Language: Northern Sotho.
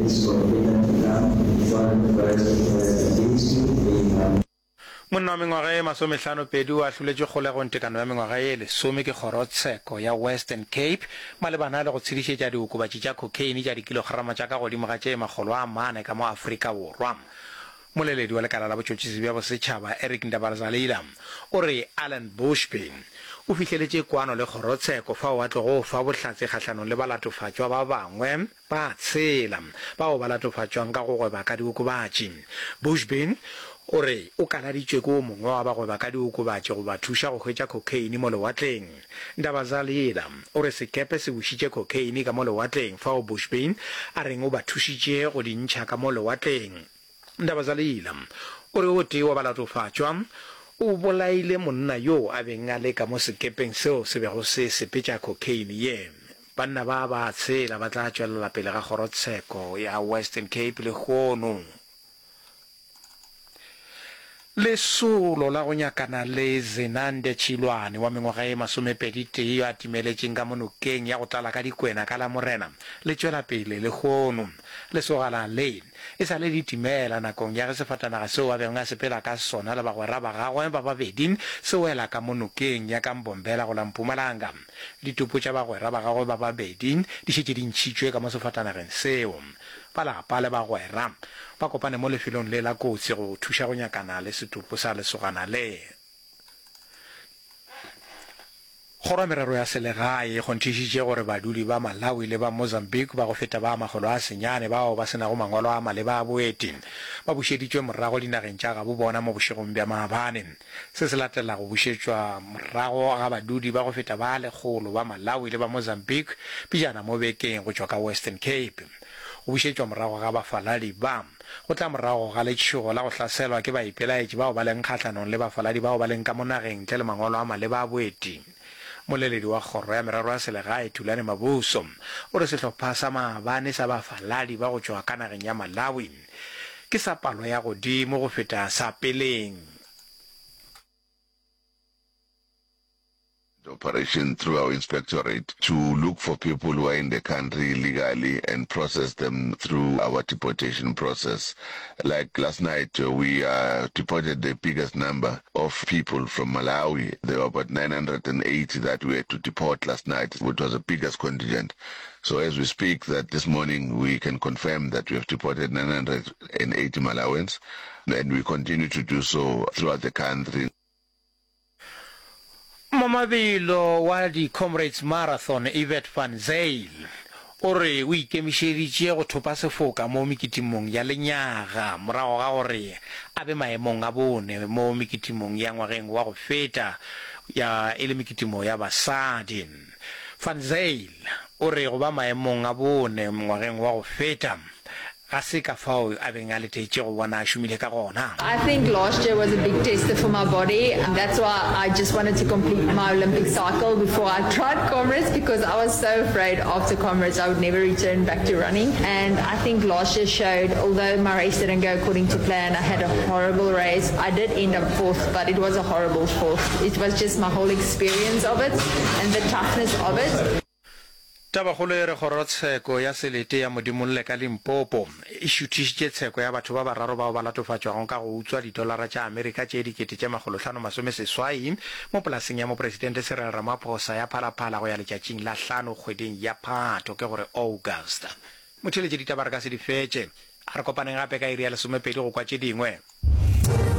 This was to come before the first against you. Amen. Monna wa mengwaga ye masomehlanopedi o ahloletšwe kgolegong tekano ya mengwaga ye lesome ke kgorotsheko ya Western Cape malebana le go tshedišetša diokobatši tša cocaine tša dikilograma tša ka godimo ga tše 400 ka mo Afrika Borwa. Moleledi wa lekala la botšhotšhisi bja bosetšhaba Eric Ndabarzalila o re Allan Bushby o fihleletše kwano le kgorotsheko fao a tlogo fa bohlatse kgahlanong le balatofatšwa ba bangwe ba tshela bao ba latofatšwang ka go gweba ka diokobatši. Bushby o re o kaladitšwe ke o mongwe wa bagweba ka diokobatši go ba thuša go hwetša khokheine mo lewatleng. Ndabazalila o re sekepe se bušitše khokheine ka mo lewatleng fao Bushby a reng o ba thušitše go di ntšha ka mo lewatleng. Ndabazalila o re o tee wa balatofatšwa o bolaile monna yoo a beng a le ka mo sekepeng seo se bego se sepetša khokheine ye. Banna ba ba tshela ba tla tšwelela pele ga kgorotsheko ya Western Cape lehono. Lesolo la go nyakana le Zenande Tšhilwane wa mengwaga ye masomepeditee yo a timeletšeng ka mo nokeng ya go tlala ka dikwena ka Lamorena le tšwela pele lehono. Lesogana le e sa le le timela nakong ya ge sefatanaga seo a bego a sepela ka sona le bagwera ba gagwe ba babedi se wela ka mo nokeng ya ka Mbombela go la Mpumalanga. Ditopo tša bagwera ba gagwe ba babedi di šetše di ntšhitšwe ka mo sefatanageng seo. Ba lapa le bagwera ba kopane mo lefelong le la kotsi go thuša go nyakana le setopo sa lesogana le. Kgoro ya Merero ya Selegae e kgonthišitše gore badudi ba Malawi le ba Mozambique ba go feta ba 900 bao ba se nago mangwalo a maleba a boeti ba bušeditšwe morago dinageng tša gabo bona mo bošegong bja maabane. Se se latela go bušetšwa morago ga badudi ba go feta ba lekgolo ba Malawi le ba Mozambique pejana mo bekeng go tšwa ka Western Cape. Go bušetšwa morago ga bafaladi ba go tla morago ga letšhogo la go hlaselwa ke baipelaetši bao ba leng kgahlanong le bafaladi bao ba leng ka mo nageng ntle le mangwalo a maleba a boeti. Moleledi wa Kgoro ya Merero ya Selegae, Thulani Mabuso, o re sehlopha sa maabane sa bafaladi ba go tšwa ka nageng ya Malawi ke sa palo ya godimo go feta sa peleng. The operation through our inspectorate to look for people who are in the country illegally and process them through our deportation process. Like last night, we uh, deported the biggest number of people from Malawi. There were about 980 that we had to deport last night, which was the biggest contingent. So as we speak that this morning, we can confirm that we have deported 980 Malawians and we continue to do so throughout the country. Mmamabelo wa di-Comrades Marathon Evert van Zyl o re o ikemišeditše go thopa sefoka mo mekitimong ya lenyaga morago ga gore a be maemong a bone mo mekitimong ya ngwageng wa go feta ya e le mekitimo ya basadi. Van Zyl o re go ba maemong a bone ngwageng wa go feta ga se ka fao a beng a letetše go bona a šomile ka gona. I think last year was a big tester for my body that's why I just wanted to complete my Olympic cycle before I tried Comrades because I was so afraid after Comrades I would never return back to running and I think last year showed although my race didn't go according to plan I had a horrible race I did end up fourth but it was a horrible fourth it was just my whole experience of it and the toughness of it. Tabakgolo e re Kgorotsheko ya Selete ya Modimolle ka Limpopo e šuthišitše tsheko ya batho ba bararo bao ba latofatšwago ka go utswa didolara tša Amerika tše 5800 mo polaseng ya Mopresidente Cyril Ramaphosa ya Phalaphala go ya letšatšing la hlano kgweding ya Phato ke gore August. Motheeletši ditaba re ka se di fetše. A re kopaneng gape ka iri ya lesomepedi go kwa tše dingwe.